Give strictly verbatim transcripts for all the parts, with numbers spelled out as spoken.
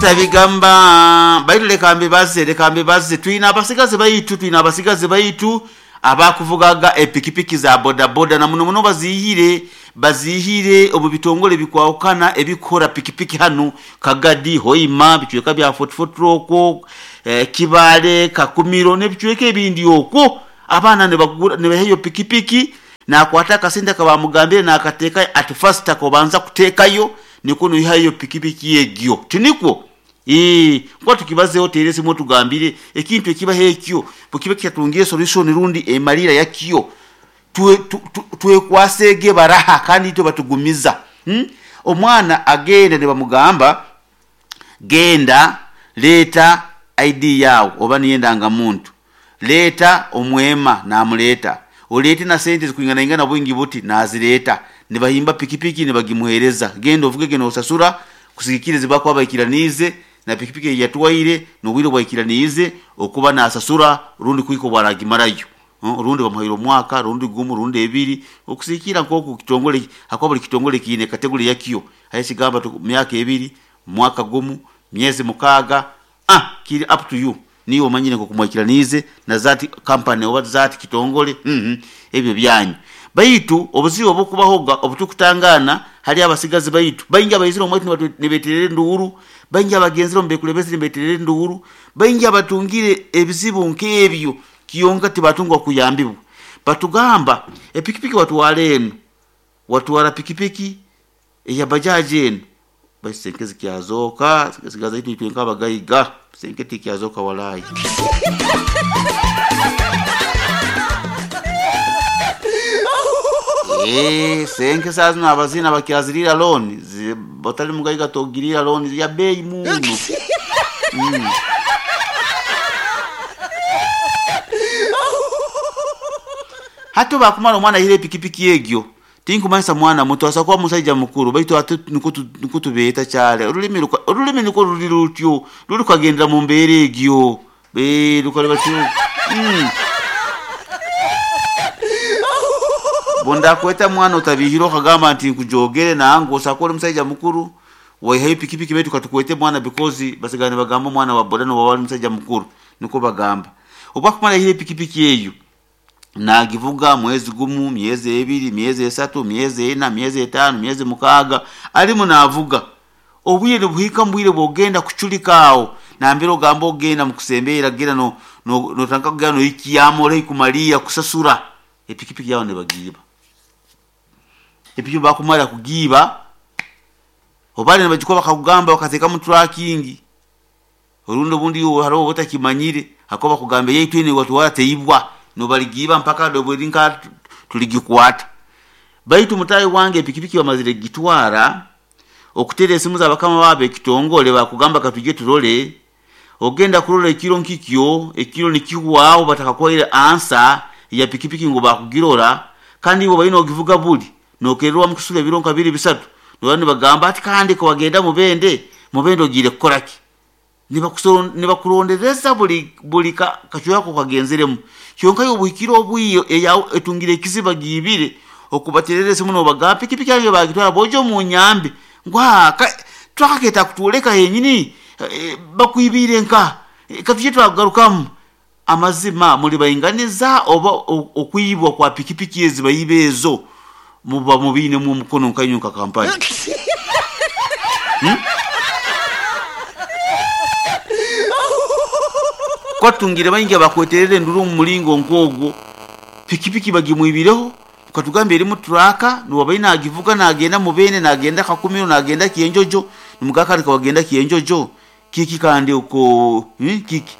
Tabigamba baitu leka mbibaze, leka mbibaze. Twine abasigazi baitu, twine abasigazi baitu abakuvugaga epikipiki za bodaboda na muno muno bazihire bazihire omu bitongole bikwahukana ebikora pikipiki hanu Kagadi, Hoima, bicweka bya Fort Fort okwo, eh, Kibale, Kakumiro n'ebicweka ebindi okwo. Abaana nibagura nibaheyo pikipiki nakwata akasente akabamugambire nakateeka at first akobanza kuteekayo nikwo noihayo pikipiki egyo tinikwo. Ee, nkuba tukibazeho teera esimu otugambire ekintu ekibaho ekyo bwekiba kitatungire solution rundi emalira yakyo twekwasege baraha kandi itwe batugumiza. Hmm? Omwana agenda nibamugamba genda leeta I D yawe oba niyo endangamuntu, leeta omwema namuleeta, oleete na sente zikwinganaingana bwingi buti nazireeta, nibahimba pikipiki nibagimuhereza, genda ovuge nosasura kusigikiriza bakuba baikiraniize na pikipiki eyatwaire n'obwire bwaikiraniize okuba nasasura rundi kuhika obwaragimarayo. Rundi bamuhaire omwaka rundi gumu rundi ebiri okusigikira nk'oku kitongole hakuba buli kitongole kiine kategori yakyo aho ekigamba myaka ebiri, mwaka gumu, myezi mukaaga, ah kiri up to you niiwe omanyire nk'oku mwaikiraniize na that company oba that kitongole mm ebyo byanyu. Baitu obuzibu obukubahoga obutukutangaana hali abasigazi baitu baingi abaizire omwaitu nibeterera enduuru, baingi abagenzire omu bekulembeze nibeterera enduuru, baingi abatungire ebizibu nk'ebyo kiyonka tibatungwa kuyambibwa. Batugamba epikipiki watwara enu, watwara pikipiki eya bajaji enu baitu senke zikyazooka zisigaza itwe itwe nk'abagaiga senke tikyazooka walai. Eee, senke saa zino abazina bakyaziriira looni batali mugaiga togiriira looni ya bei muno. Mm. Hati bakumara omwana aihire epikipiki egyo tinkumanyisa mwana muto asobola kuba musaija mukuru baitu ate nikwo tubeeta kyare orulimi orulimi nikwo ruri rutyo ruri rukagendera mu mbeera egyo ee rukareba mm. Bondakweta mwana otabihire okagamba nti nkujogere nangu osobola kuba ori musaija mukuru waihayo epikipiki baitu katukwete mwana because basigara nibagamba omwana wa boda noba ori musaija mukuru nikwo bagamba. Obu akumara aihire epikipiki eyo nagivuga mwezi gumu, myezi ebiri, myezi esatu, myezi ena, myezi etaano, myezi mukaaga arimu navuga. Obwire nibuhika mu bwire bwogenda kucurika aho nambere ogamba ogenda mukusembeera genda no notandika kugenda nohikyamu ori haihi kumaliira kusasura epikipiki yawe nibagiiba. Epikipiki bakumara kugiiba oba nibagikuba bakakugamba bakateekamu tracking orundi obundi hariho oba otakimanyire hakuba bakugamba eyaitu enu eyawatwara teibwa nobaligiiba mpaka bweri nka tuligikwata. Baitu mutaahi wange epikipiki bamazire kugitwara okuteera esimu za bakama baabo ekitongole bakugamba katujye turore, ogenda kurora ekiro nkikyo ekiro nikihwaho batakakuhaire ansa ya pikipiki ngu bakugirora kandi iwe obaire nogivuga buri nokererwamu kusura ebiro nka bibiri bisatu noba nibagamba ati kandi kawagenda mubende mubende ogiire kukoraki nibakurondereza buri buri kacweka kokagenzeremu kyonka iwe obuhikire obwire eyawe etungire ekizibu bagiibire okubaterera esimu nobagamba pikipiki yange bagitwara boija omunyambe ngu twakaketa kutworeka henyini bakwibiire nka katujye twakugarukamu. Amazima muri bainganiza oba okwibwa kwa pikipiki ezi baiba ezo muba mubiinemu omukono nkainywe nka kampani. Hmm? Kwatungire baingi abakweterera enduru omu muringo nk'ogwo pikipiki bagimwibireho ukatugamba erimu turaka niwabaire nagivuga nagenda mubene nagenda Kakumiro nagenda Kyenjojo nimugamba kawagenda Kyenjojo kiki kandi oko hmm? Kiki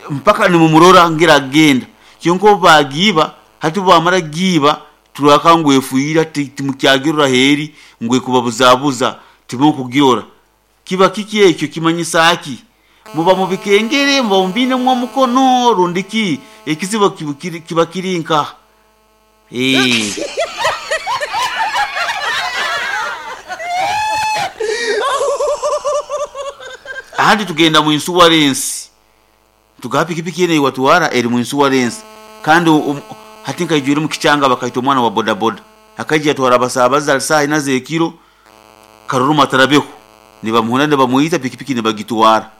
mpaka nimumurora ngira agenda kyonka obu bagiiba hati bamara giiba turaka ngu efuira timukyagirora heeri ngu ekubabuzabuza timukugirora kiba kiki ekyo kimanyisa ki muba mubikengere muba mubiinemu omukono rundi ki ekizibu kiba kiri nkaha. Ee. Ahandi tugenda mu insurance tugaha pikipiki enu eyawatwara eri mu insurance kandi um, hati nkaijwire omu kichanga bakaita omwana wa bodaboda akaija yatwara abasaabaze ali saaha ina z'ekiro karoroma atarabeho Nibamuhona nibamuita pikipiki nibagitwara.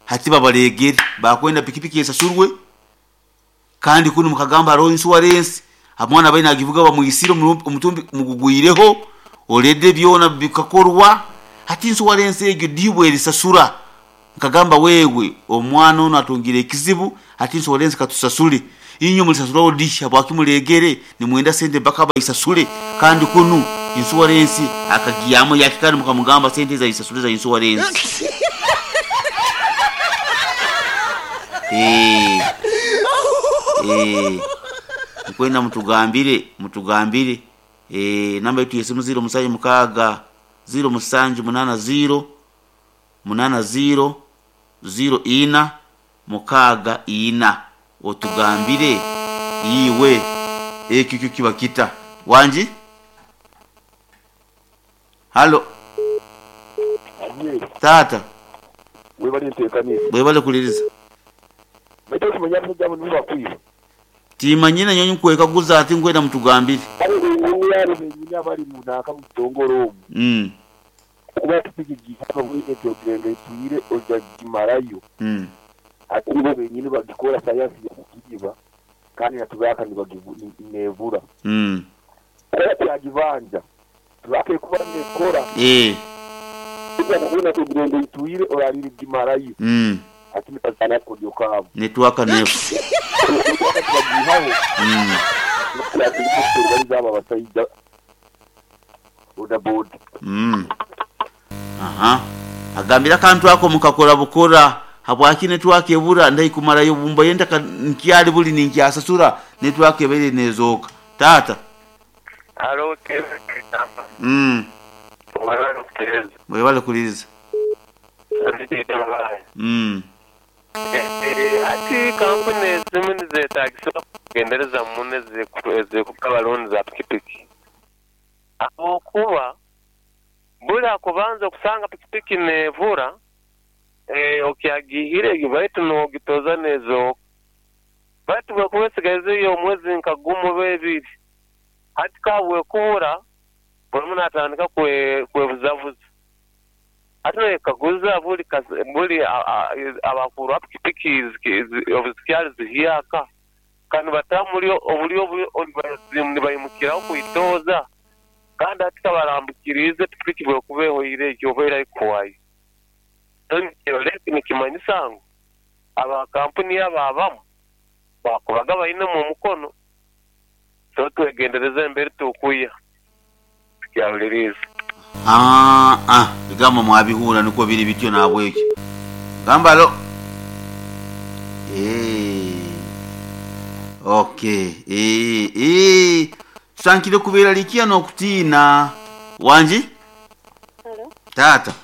Hati babaregere bakwenda pikipiki esasurwe kandi kunu mukagamba hariho insurance omwana baine agivuga bamwisire omutumbi mugugwireho olede byona bikakorwa hati insurance egyo dibwe erisasura. Nkagamba wewe omwana ono atungire ekizibu hati insurance katusasule inyo mulisasuraho disha bwakimulegere nimwenda sente mpaka baisasule kandi kunu insurance akagiyamu yakikani mukamugamba sente za isasule za insurance. Eh eh nkwenda mutugambire mutugambire eh namba yetu yesimu zero musanju mukaga zero musanju munana zero munana zero zero ina mukaga ina otugambire iwe ekyo kyo kiba kita wanji. Halo tata webali ntekanisa webale kuliriza baito kumanya mujabo niba kwiba timanyina nyonyi kwekaguza ati ngwenda mutugambire yari benyine abari munaka mutongoro mm kuba tupigigi bwine tyokirenga itwire ojagimarayo mm ati bo benyine bagikora science ya kukiba kandi natubaka nibagivura mm yagivanja tubake kuba nekora eh kuba tyokirenga itwire orariri gimarayo mm ati nipazana kodyoka network nefu mm mm aha agambira kantu ako mukakora bukora habwaki network ebura ndaikumarayo bumba yenda nkyali buli ninkyasasura network ebere nezoka tata. Halo mm mwebale kuliriza mm ati kampuni ezimu nizetagisa kugendereza muno ezikuba za pikipiki ahabwokuba buli akubanza okusanga pikipiki nevura eh, okyagihire baitu nogitoza nezooka baitu bwekuba esigaizeyo omwezi nka gumu oba ebiri hati kabwekubura buli muntu atandika kwebuzabuza hati nekaguza buli buli abakuru ba pikipiki obuzikyali zihyaka kandi batamuli obuli nibayimukiraho kwitoza kandi hati kabarambukirize pikipiki bwekuba ehoire ekyo oba erikuwayo nikimanyisa ngu abakampuni ababamu bakubaga bainemu omukono so twegendereza embere tukuya tukyahuliriza. Ah ah bigambo mwabihura niko biri bityo nabwekyo gamba lo eh okay eh eh tusankire kubera likia no kutina wanji. Halo tata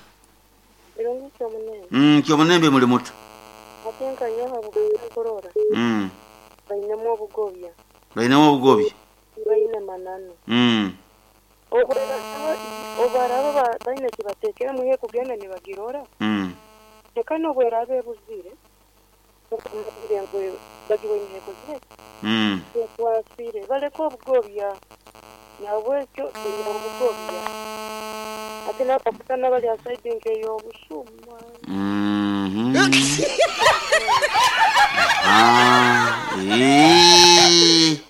birungi kyomunembe mm kyomunembe muli muto atenka nyoha bukorora mm bainemu obugobya bainemu obugobya baine manano mm obaraba baine kibatekera muhe kugenda nibagirora mm tekano bwerabe buzire ngo bagiwe intego zire mm kwasire baleko obugobya nabwekyo obugobya ate napakutana bali aside nkeyo obusuma mhm ah eh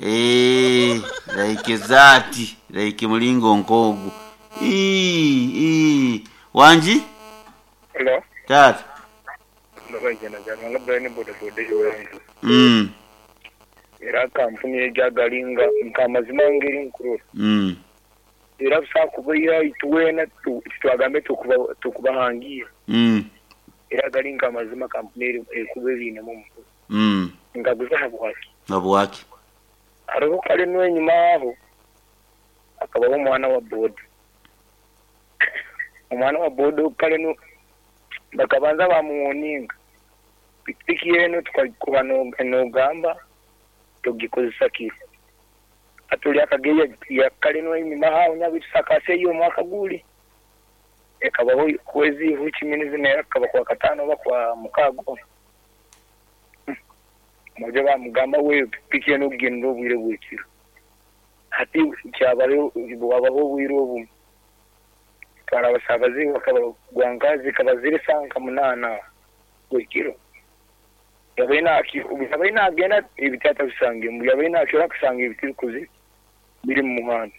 eh like zati like mulingo nkogu ii ii wanji. Hello tata ndabajana jana Brian boda boda yorangi mm era kampuni ejagalinga nkamazima ngeri nkurura mm era sakuba ituwena twagambe tukuba tukubahangira mm era galinga amazima kampuni ekuberine mu mm ngaguza habwaki habwaki hariho kale n'enyuma aho akabaho omwana wa boda omwana wa boda kale no bakabanza bamuwoninga pikipiki yeno tukakuba nogamba tugikozesa kiro atuli akageya yakale n'enyuma aho nyabitusakase iyo mwaka guli ekabaho kwezi huchimini zine akaba kwa katano oba kwa mukago mujye bamugamba we pikipiki yeno kugenda obwire bwekiro hati kyabare wabaho obwire obumwe Twara abasabazi bakabagwanka zikaba ziri sanka munana bwekiro. Yabaina yabaina agenda ebitata bisange mu yabaina akira kusanga ebiti bikuzi biri mu muhanda.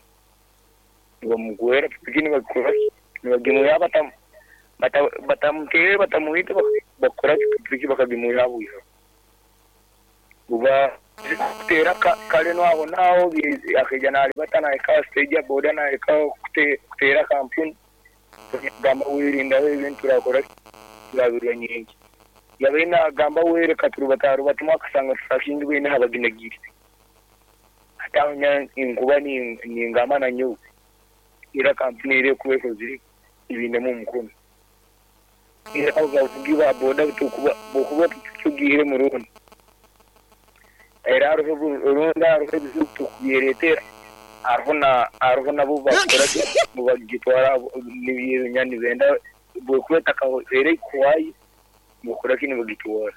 Bamugwera pikini bakora nibagimuya batam batamutere batamuhita bakora pikipiki bakagimuya buya. Buba kutera kale no aho naho akijana alibatana eka stage ya boda na eka kutera kampuni gamba wirinda ebintu rakora turabirwa nyingi yabena gamba wereka turubataru batuma akasanga tsakingi bene habaginagiri atanya inkuba ni ngama na nyo ira kampuni ire kubeko ziri ibinde mu mukono ira abavugi ba boda tukuba bokuba tugire mu rundi era runda rundi tukuyeretera arhona arhona bo bakora bo bagitwara nibinyani benda bokweta ka ere kwai bokora kini bagitwara.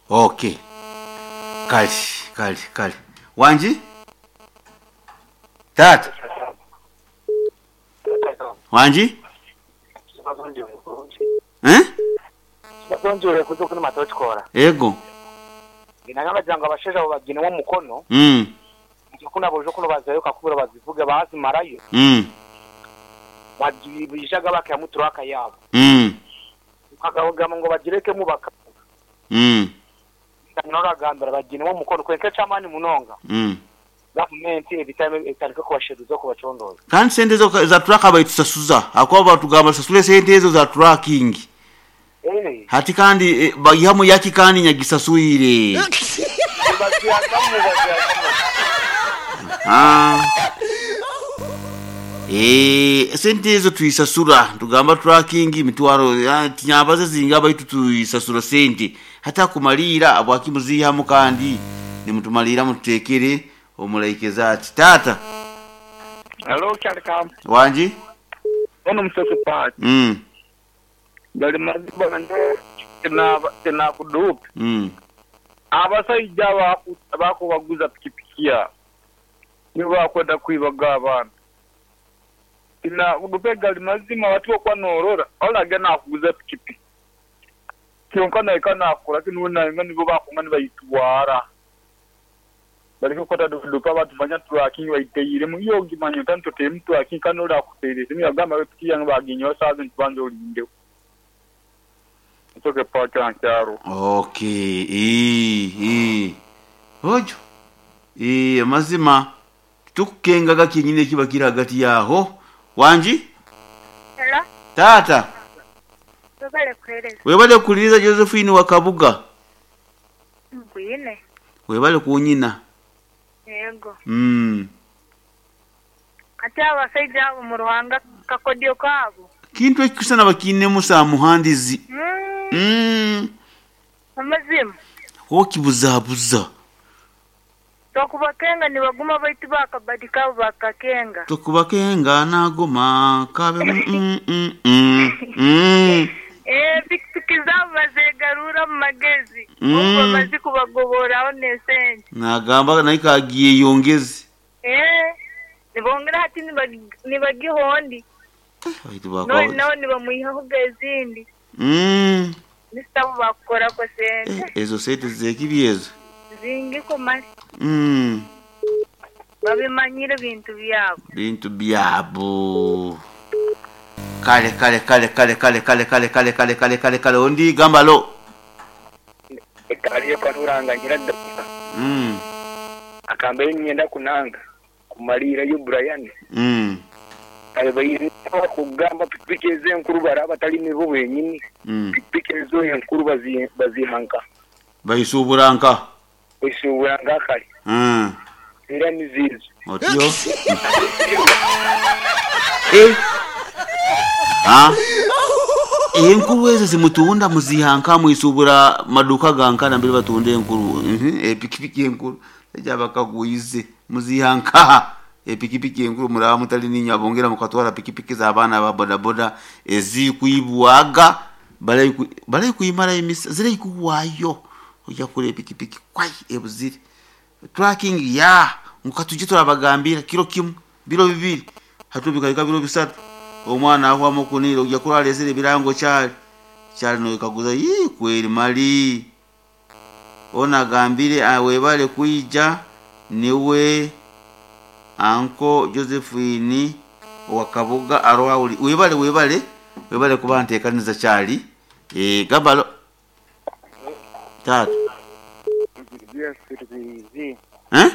Okay, kali kali kali wanji tata wanji eh bazonjure kuzoka matochikora ego inanga janga abasheja bagine wo mukono mm kuna bojo kuno bazayo kakubura bazivuga bazimarayo mm bajibijaga bakamuturaka yabo mm ukagabagama ngo bagireke mubaka mm nora gambara bagine wo mukono kwenke chamani munonga mm government ebitame etarika kubasheruza kubacondoza kandi sente zo za truck bayitusasuza akwa batugamba sasule sente ezo za trucking eh hati kandi eh, bayihamu yaki kandi nyagisasuire ah eh sente ezo tuisasura tugamba tracking mitwaro tinyabaze zinga baitu tuisasura sente hata kumalira abwakimuzihamu kandi nimutumalira mututekere omulaikeza ati tata. Hello kyalika wanji ono msoko pa mm bali maziba na tena kudup mm abasajja bako baguza pikipikia nibo bakwenda kwibaga abantu ina kudupega limazima watu kwa norora olaga na kuguza pikipiki kyonka naye kana akora kinu na nibo bakonga nibayitwara baliko kota dupa batu banya tracking bayiteire mu yo gimanyo tanto te mtu akinkanora kutere simi agamba bepiki yange baginyo sazo ntibanzo olinde toke paka nkyaro. Okay, eh eh ojo eh amazima tukukengaga kinyine kiba kiri hagati yaho wanji. Hello tata webale kuhereza webale kuliriza Josephine wa Kabuga ngwine webale kunyina yego mm ate abasajja abo mu Ruhanga kakodyo kabo kintu ekikusana bakine musa muhandizi mm. mm. Amazima okibuzabuza tokubakenga nibaguma baitu bakabadika bakakenga tokubakenga nagoma kabe mm, mm, mm, mm. Eh pikipiki zabo bazegarura mu magezi Mm. ubwo bamaze kubagoboraho nesente nagamba naye kagiye yongeze eh nibongera hati nibagihondi baitu bakwa none nawe nibamuyihaho ezindi mm. nisitabo bakukorako sente Eh, ezo sente zekibyezo zingiko mali mm. babimanyire bintu byabo bintu byabo kale kale kale kale kale kale kale kale kale kale kale kale ondi gamba lo ekaliye kanuranga nyiradda mm. akambe nyenda kunanga kumalira yo Brian mm. abayizi kugamba pikipiki ezenkuru baraba batali nibo benyini mm. pikipiki ezo enkuru bazi bazihanka bayisuburanka bayisuburanka kale mm. era nizizo otyo eh ah enkuru ezo zimutunda muzihanka mwisubura maduka gankana mbere batunda enkuru mhm epikipiki enkuru ejabakaguize muzihanka epikipiki enkuru muraba mutali ninya bongera mukatwara pikipiki za abana ba boda boda ezikuibwaga balai balai kuimara imisa zire ikuwayo ojya kure epikipiki kwai ebuzire tracking ya mukatuje turabagambira kilo kimu biro bibiri hatubika biro bisatu Omwana ahwamu okunira ojja kurora alesere ebirango kyali kyali noyekaguza, yii, kweri mali ono agambire, ah, webale kwija niwe anko Josephine owakabuga aroho. Webale, webale, webale kuba ntekaniza kyali. Eh, gabalo tatu. Eh?